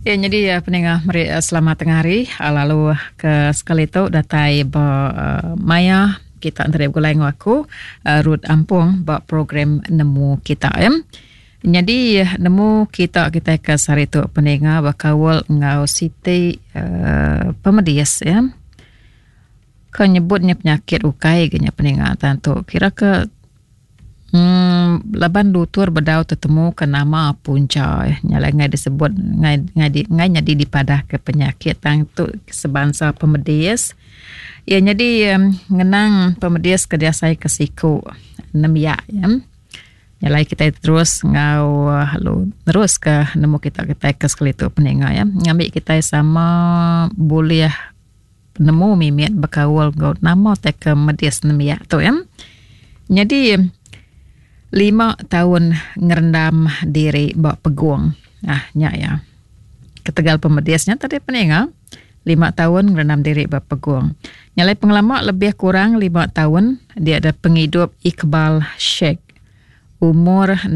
Ya nyadi eh, peninga meri eh, selamat tengah hari eh, lalu ke sekali tu datai ba maya kita enteri begulai enggau aku Ruth Ampung ba program Nemu Kita ya. Nyadi nemu kita kitai ke sehari tu peninga bekaul enggau siti uh, pemedis ya. Ke nyebutnya penyakit ukai ke nya peninga tentu kira ke Em laban lutur bedau tetemu ke nama puncha nya alai enggai disebut enggai enggai enggai nyadi dipadah ke penyakit tang tu sebansa pemedis. Iya nyadi ngenang pemedis ke diasai ke siku nembiak iya. Nya alai kitai terus enggau lalu terus ke nemu kita kitai ke sekali tu peninga iya ngambi kitai sama bulih penemu mimit bekaul enggau nama tai ke medis nembiak tu ya. Nyadi 5 taun ngerendam diri ba pegung. Ah nya ya. Ketegal pemedis nya tadi peninga 5 taun ngerendam diri ba pegung. Nyalai pengelama lebih kurang 5 taun dia ada pengidup Iqbal Sheikh. Umur 16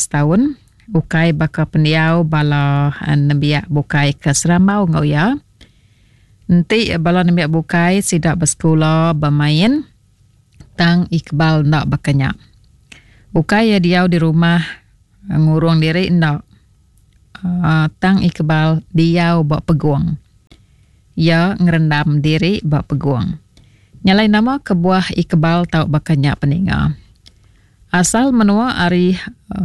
tahun ukai baka pendiau bala nembiak bukai ke serambau enggau iya. Enti bala nembiak bukai sida besekula bemain tang Iqbal enda baka nya. Ukai iya diau di rumah ngurung diri enda uhh tang Iqbal diau ba pegung. Iya ngerendam diri ba pegung. Nya alai nama kebuah Iqbal tau baka nya peninga. Asal menua ari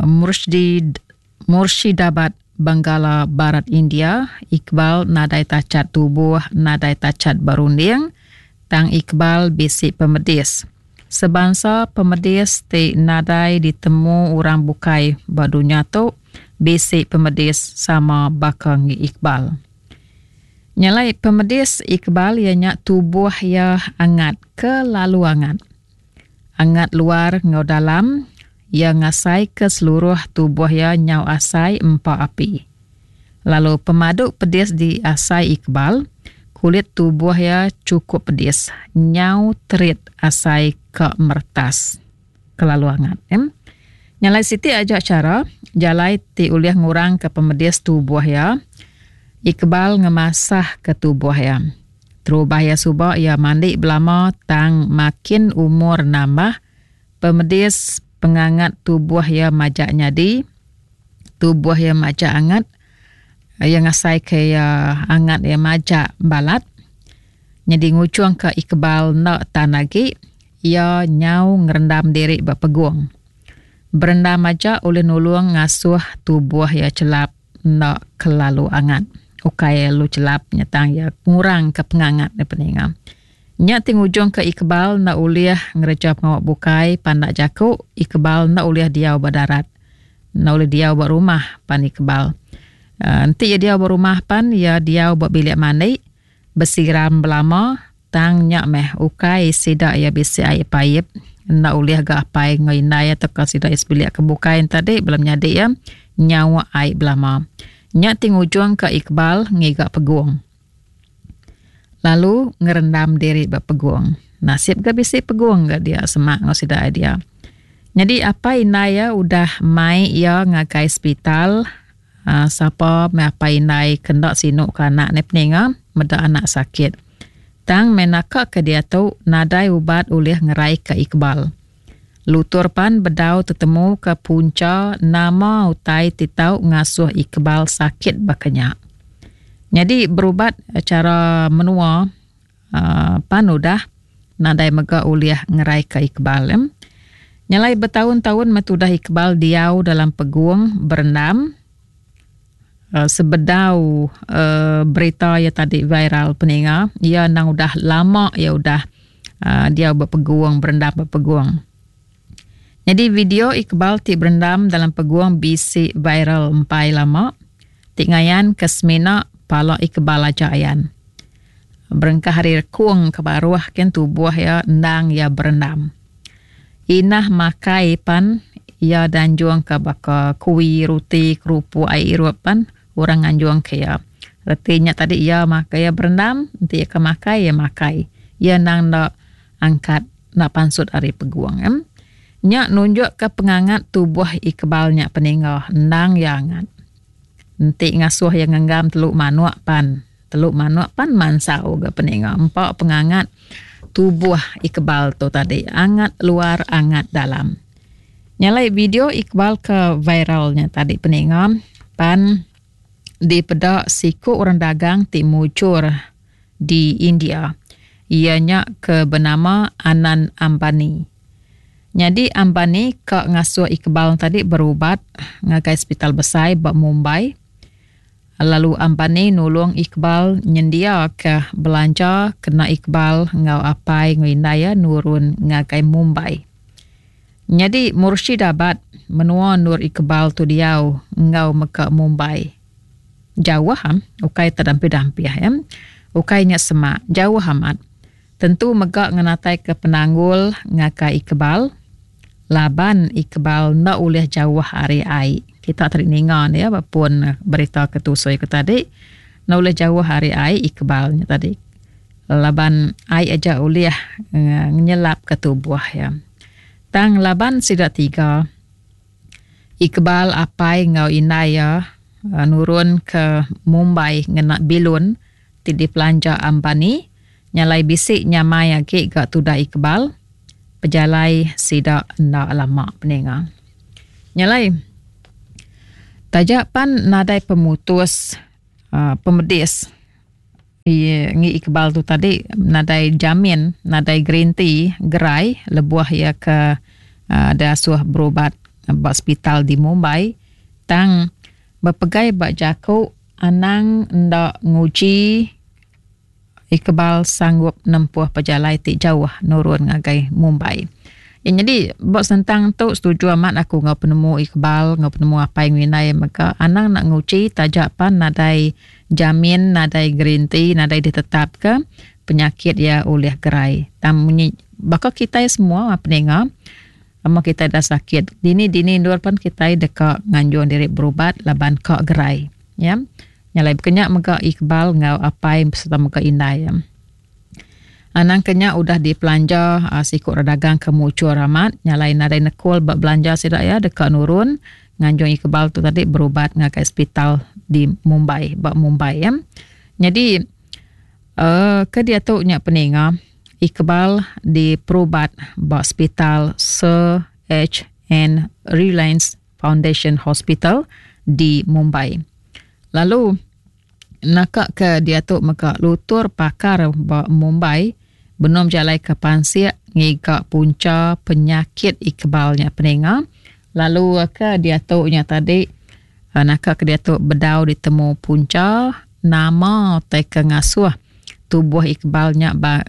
Murshid Murshidabad, Benggala Barat India, Iqbal nadai tachat tubuh, nadai tachat berunding, tang Iqbal bisi pemedis. Sebansa pemedis ti nadai ditemu orang bukai ba dunya tu bisi pemedis sama baka ngi Iqbal. Nya alai pemedis Iqbal iya nya tubuh iya angat kelalu angat. Angat luar enggau dalam, iya ngasaika seluruh tubuh iya nyau asai empa api. Lalu pemadu pedis diasai Iqbal, kulit tubuh iya chukup pedis, nyau terit asai ka meretas. Kelalu angat. Nya alai siti aja chara jalai ti ulih ngurangka pemedis tubuh iya, Iqbal ngemasahka tubuh iya. Terubah iya suba iya mandi belama tang makin umur nambah, pemedis pengangat tubuh iya majak nyadi, tubuh iya majak angat, iya ngasaika iya angat iya majak balat. Nyadi ngujungka Iqbal enda tan agi, iya nyau ngerendam diri ba pegung. Berendam aja ulih nulung ngasuh tubuh iya chelap. Enda kelalu angat. Ukai lu chelap nya tang iya ngurang ke pengangat ne peninga. Nya ti ngujung ke Iqbal enda ulih ngereja pengawa bukai pandak jaku Iqbal enda ulih diau ba darat. Enda ulih diau ba rumah pan Iqbal. Enti iya diau ba rumah pan iya diau ba bilik mandi besiram belama tang nya meh ukai sida iya bisi ai paip enda ulih ga apai enggau indai tauka sida iya sebilik ke bukai enti tadi bala menyadi iya nyauk ai belama. Nya ti ngujung ka Iqbal ngiga pegung lalu ngerendam diri ba pegung. Nasib ga bisi pegung ga dia semak enggau sida iya dia. Nyadi apai indai iya udah mai iya ngagai sepital Sapa meh apai indai ke enda sinu ke anak ne peninga meda anak sakit. Tang meh naka ke diatu nadai ubat ulih ngerai ke Iqbal. Lutur pan bedau tetemu ke puncha nama utai ti tau ngasuh Iqbal sakit baka nya. Nyadi berubat chara menua pan udah nadai mega ulih ngerai ke Iqbal. Nyelai betaun-taun meh tudah Iqbal diau dalam pegung berendam sebedau berita iya tadi viral peninga iya endang udah lama iya udah diau ba pegung berendam ba pegung. Nyadi video Iqbal ti berendam dalam pegung bisi viral empai lama ti ngayan ke semina pala Iqbal aja ayan. Berengkah ari rekung ke baruh kin tubuh iya endang iya berendam. Inah makai pan iya danjung ke baka kuie, ruti, kerupuk, ai irup pan orang nganjung ke iya. Reti nya tadi iya makai iya berendam enti iya ke makai iya makai. Iya endang enda angkat enda pansut ari pegung. Nya nunjukka pengangat tubuh Iqbal nya peningga endang iya angat. Enti ngasuh iya ngenggam telu manuk pan, telu manuk pan mansau ga peninga empa pengangat tubuh Iqbal tu tadi angat luar angat dalam. Nya alai video Iqbal ke viral nya tadi peninga pan dipeda siku orang dagang ti mujur di India iya nya ke benama Anand Ambani. Nyadi Ambani ka ngasuh Iqbal tadi berubat ngagai sepital besai ba Mumbai lalu Ambani nulung Iqbal nyendiaka belanja kena Iqbal enggau apai enggau indai iya nurun ngagai Mumbai. Nyadi Murshidabad menua endur Iqbal tu diau enggau mega Mumbai. Jauh am ukai tedampih-dampih iya. Ukai nya semak jauh amat. Tentu mega ngenataika penanggul ngagai Iqbal laban Iqbal enda ulih jauh ari ai. Kita tadi ninga ne ba pun berita ke tusui ku tadi enda ulih jauh ari ai Iqbal nya tadi laban ai aja ulih ngenyelapka tubuh iya. Tang laban sida tiga Iqbal apai enggau indai iya nurun ke Mumbai ngena bilun ti dipelanja Ambani nyalai bisi nyamai agi ga tudah Iqbal pejalai sida enda lama peninga. Nyalai taja pan nadai pemutus uhh pemedis ngi Iqbal tu tadi nadai jamin nadai gerinti gerai lebuh iya ke uhh diasuh berubat ba sepital di Mumbai tang bepegai ba jaku Anang enda nguji Iqbal sanggup nempuh pejalai ti jauh nurun ngagai Mumbai. Ya nyadi ba sentang tu setuju amat aku enggau penemu Iqbal enggau penemu apai enggau indai mega anang enda nguji taja pan nadai jamin nadai gerinti nadai ditetapka penyakit iya ulih gerai. Tang munyi baka kitai semua peninga Lama kitai dah sakit, dini-dini endur pan kitai deka nganjung diri berubat laban ka gerai. Ya. Nya alai baka nya mega Iqbal enggau apai sereta mega indai iya. Anang ke nya udah dipelanja siku orang dagang ke muchur amat, nya alai nadai nekul ba belanja sida iya deka nurun nganjung Iqbal tu tadi berubat ngagai sepital di Mumbai, ba Mumbai ya. Nyadi uhh ke diatu nya peninga. Iqbal diperubat ba Sepital Sir HN Reliance Foundation Hospital di Mumbai. Lalu naka ke diatu mega lutur pakar ba Mumbai benung bejalaika pansik ngiga puncha penyakit Iqbal nya peninga lalu ke diatu nya tadi naka ke diatu bedau ditemu puncha nama tai ke ngasuh tubuh Iqbal nya ba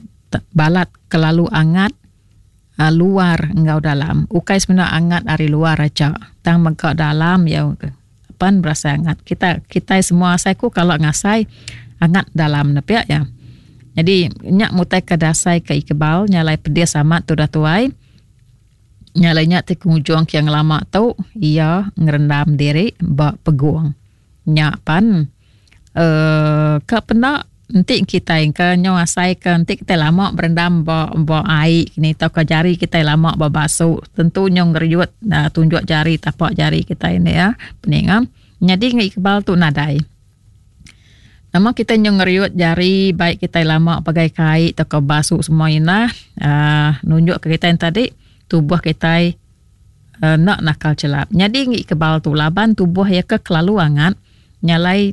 balat kelalu angat luar enggau dalam. Ukai semina angat ari luar aja tang mega dalam iya pan berasai angat. Kita kitai semua asai ku kala ngasai angat dalam ne pia iya. Jadi nya mutai ke dasai ke Iqbal nya alai pedis amat tudah tuai. Nya alai nya ti pengujung ke ngelama tu iya ngerendam diri ba pegung. Nya pan uhh ka penda enti kitai ke nyau asai ke enti kitai lama berendam ba ba ai ni tauka jari kitai lama ba basu tentu nyau ngeriut uhh tunjuk jari tapak jari kitai indi iya peninga. Nyadi ngi Iqbal tu nadai. Nama kitai nyau ngeriut jari bai kitai lama pagai kai tauka basu semua inah uhh nunjuk ke kitai tadi tubuh kitai Enda nakal chelap. Nyadi ngi kebal tu laban tubuh iya ke kelalu angat nya alai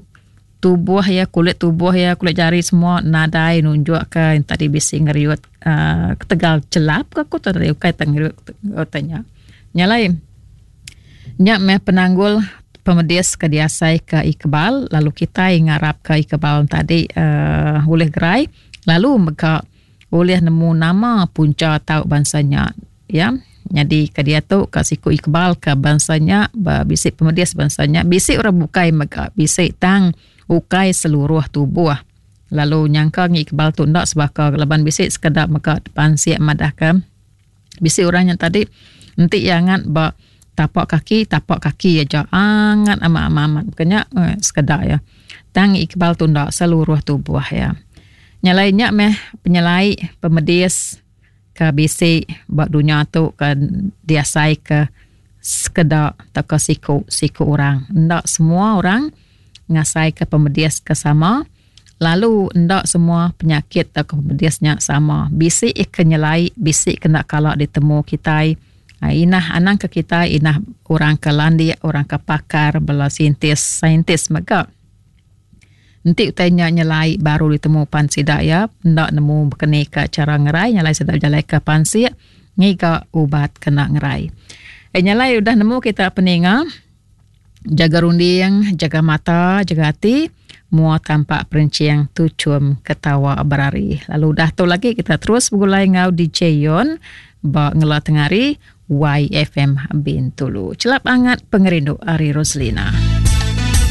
tubuh iya kulit tubuh iya kulit jari semua nadai nunjuk ke tadi bisi ngeriut uhh ketegal chelap ka ku tadi ukai te ngeriut utai nya. Nya alai nya meh penanggul pemedis ke diasai ke Iqbal lalu kitai ngarap ke Iqbal tadi uhh ulih gerai lalu mega ulih nemu nama puncha tau bansa nya. Iya nyadi ke diatu ka siku Iqbal ka bansa nya ba bisi pemedis bansa nya bisi orang bukai mega bisi tang ukai seluruh tubuh lalu nyangka ngi Iqbal tu enda sebaka laban bisi sekeda mega pansik madahka bisi orang nya tadi enti iya angat ba tapak kaki tapak kaki aja angat amat amat amat ke nya sekeda iya tang Iqbal tu enda seluruh tubuh iya. Nya alai nya meh penyelai pemedis. Ke bisi ba dunya tu ke diasaika sekeda tauka siku siku orang. Enda semua orang. ngasaika pemedis ke sama lalu enda semua penyakit tauka pemedis nya sama. Bisi ke nyelai, bisi ke enda kala ditemu kitai. Inah anang ke kitai inah orang ke landik, orang ke pakar bala saintis saintis mega. Enti utai nya nyelai baru ditemu pan sida iya enda nemu bekeni ka chara ngerai nyelai sida bejalaika pansik ngiga ubat kena ngerai. Eh nyelai udah nemu kita peninga jaga runding, jaga mata, jaga ati mua tampak perenching tuchum ketawa berari. Lalu udah tu lagi kita terus begulai enggau DJ Yon ba ngela tengari YFM Bintulu. Chelap angat pengerindu ari Roslina.